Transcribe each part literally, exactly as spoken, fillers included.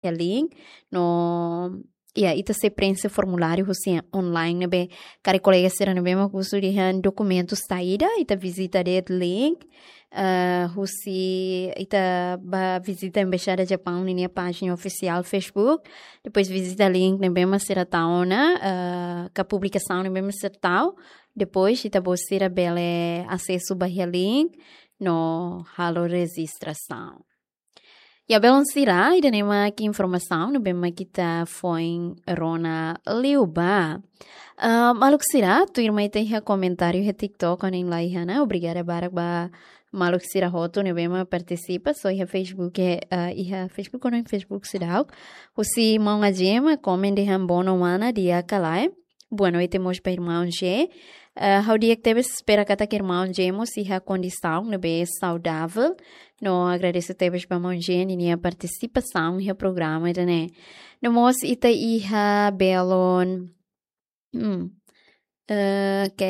iha link, no, ya, ita sei preenxe formuláriu husi online ne'ebé, karik kolega sira ne'ebé mak husu dehan dokumentu saida, ita vizita de'it link, eh, husi ita bá vizita Embaixada Japaun ninia pájina ofisiál Facebook, depois vizita link ne'ebé mak sira tau ona, eh, ka publikasaun ne'ebé mak sira tau, depois ita-boot sira bele asesu ba iha link, no halo rejistrasaun. Ya, belun sira, ida-ne'e mak informasaun ne'ebé mak ita foin rona liu ba. Ah, maluk sira, tuirmai ita iha komentáriu iha TikTok, ohin laiha ona, obrigada barak ba maluk sira hotu ne'ebé mak partisipa, só iha Facebook, eh, ah, iha Facebook, ohin Facebook seidauk. Husi maun Ajema, komen dehan boa noite mana, di'ak ka lae. Boa noite mós ba irmaun G. Eh, ha'u di'ak tebes, espera katak irmaun G mós iha kondisaun ne'ebé saudavel. No agradese tebes ba maun G ninia partisipasaun iha programa ida-ne'e. No mós ita iha belun. Hmm. Eh, ok,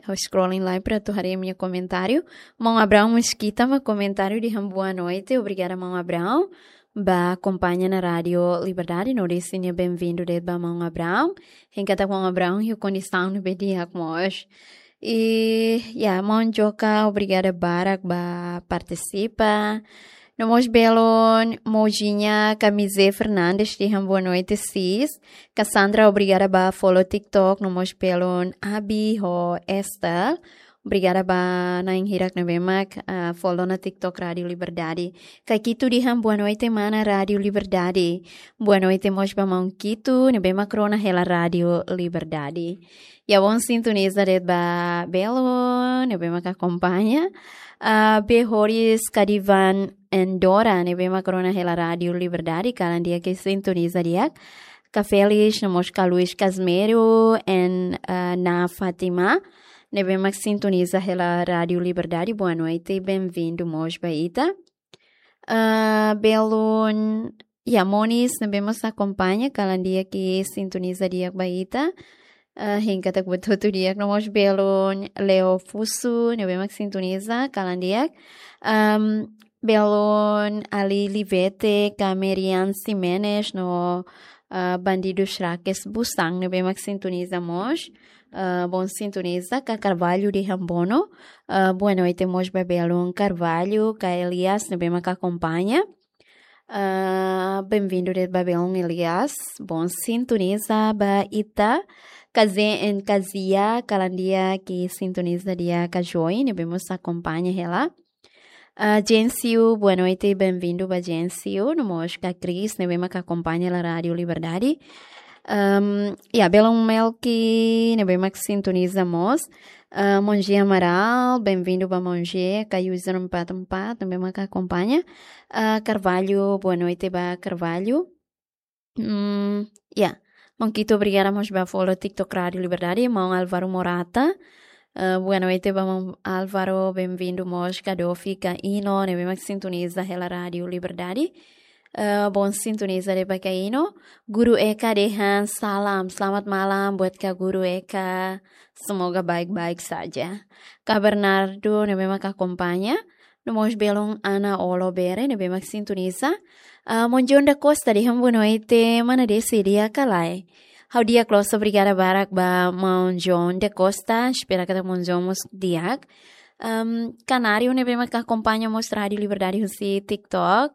ha'u scrolling lai para atu haree imi-nia komentáriu. Maun Abraão Mesquita mak komentáriu dehan boa noite. Obrigada, maun Abraão. Bá akompaña ona Rádiu Liberdade, no dehan sira benvindu de'it ba maun Abraão. Hein katak maun Abraão iha kondisaun ne'ebé di'ak mós. I, ya, maun Joka, obrigada barak ba partisipa. No mós belun Mojinha Camisé Fernandes dehan boa noite, sis. Cassandra, obrigada ba follow TikTok, no mós belun Abi ho Esther. Obrigada ba na'in hirak ne'ebé mak, ah, follow ona TikTok Rádiu Liberdade. Kaikito dehan boa noite mana Rádiu Liberdade. Boa noite mós ba maun Kito ne'ebé mak rona hela Rádiu Liberdade. Ya, bom sintoniza de'it ba belun ne'ebé mak akompaña. Ah, Behoris Kadivan Endora ne'ebé mak rona hela Rádiu Liberdade, kalan di'ak sintoniza di'ak. Ka Félix, no mós ka Luis Casmiro, en, ah, na Fátima ne'ebé mak sintoniza hela Rádiu Liberdade, boa noite, benvindu mós ba ita. Ah, belun, ya, Monis ne'ebé mós akompaña, kalan di'ak sintoniza di'ak ba ita. Ah, hein katak buat hotu di'ak, no mós belun Leo Fusu ne'ebé mak sintoniza, kalan di'ak. Am, belun Ali Livete, ka Merian Ximenes, no, ah, Bandidu Shrakes Busang ne'ebé mak sintoniza mós. Ah, bom sintoniza, ka Carvalho dehan boa no-, ah, boa noite mós ba belun Carvalho, ka Elias ne'ebé mak akompaña. Ah, benvindu de'it ba belun Elias. Bom sintoniza ba ita. Ka Zen en Kazia, kalan di'ak sintoniza di'ak, ka Joy ne'ebé mós akompaña hela. Ah, Gensio, boa noite, benvindu ba Gensio. No mós ka Cris ne'ebé mak akompaña hela Rádiu Liberdade. Am, ya, belun Melki ne'ebé mak sintoniza mós. Ah, Monje Amaral, benvindu ba Monje, ka User empat empat ne'ebé mak akompaña. Ah, Carvalho, boa noite ba Carvalho. Hmm, ya. Maun Kito, obrigada mós ba follow TikTok Rádiu Liberdade, maun Álvaro Morata. Eh, boa noite ba maun Álvaro, benvindu mós ka Dofi, ka Ino ne'ebé mak sintoniza hela Rádiu Liberdade. Eh, bom sintoniza de'it ba ka Ino. Guru Eka dehan salam, selamat malam buat ka Guru Eka. Semoga baik-baik saja. Ka Bernardo ne'ebé mak akompaña. No mós belun Ana Olo Bere ne'ebé mak sintoniza. Ah, maun John da Costa dehan boa noite, mana Desi, di'ak ka lae. Ha'u di'ak loos, obrigada barak ba maun John da Costa, espera katak maun John mós di'ak. Am, Canário ne'ebé mak akompaña mós Rádiu Liberdade husi TikTok.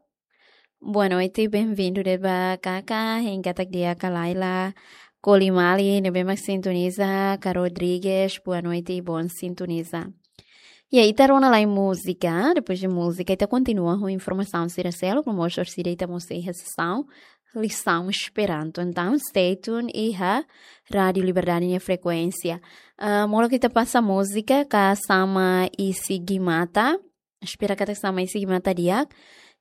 Boa noite, benvindu de'it ba Kaka, hein katak di'ak ka lae. Kolimali ne'ebé mak sintoniza, ka Rodrigues, boa noite, bom sintoniza. Ya, ita rona lai múzika, depois de múzika, ita kontinua ho informasaun sira seluk, no mós orsida ita mós iha sesaun lisaun Esperanto. Entaun, stay tuned iha Rádiu Liberdade nia frekuénsia. Ah, molok ita pasa múzika, ka Sama Isi Gimata. Espera katak Sama Isi Gimata di'ak.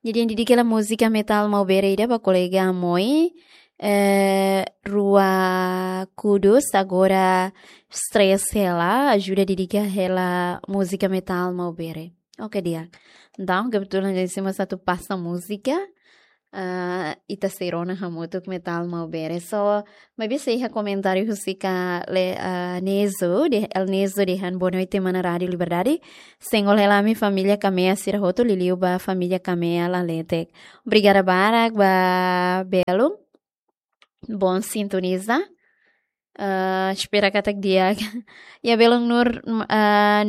Jadi, ha'u dedika hela múzika Metal Maubere ida ba kolega Moi, eh, rua Kudus, agora stress hela, ajuda dedika hela múzika Metal Maubere. Ok, di'ak. Entaun, kebetulan Desi mós atu pasa múzika. Ah, ita sei rona hamutuk Metal Maubere. So, maibé sei iha komentáriu husi ka le, ah, Nezo de, El Nezo dehan boa noite mana Rádio Liberdade. Sengol hela ami família Kamea sira hotu, liuliu ba família Kamea Laletek. Obrigada barak ba belun. Bom sintoniza. Ah, espera katak di'ak. Ya belun Nur, ah,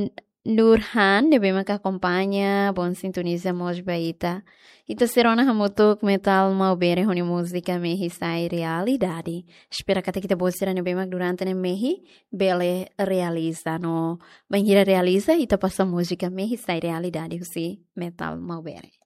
Nurhan, ne'ebé maka akompaña, bom sintoniza mós ba ita. Ita sei rona hamutuk Metal Maubere ho nia múzika Mehi Sai Realidade. Espera katak ita-boot sira ne'ebé mak durante ne'e mehi, bele realiza no. Bainhira realiza, ita pasa múzika Mehi Sai Realidade husi Metal Maubere.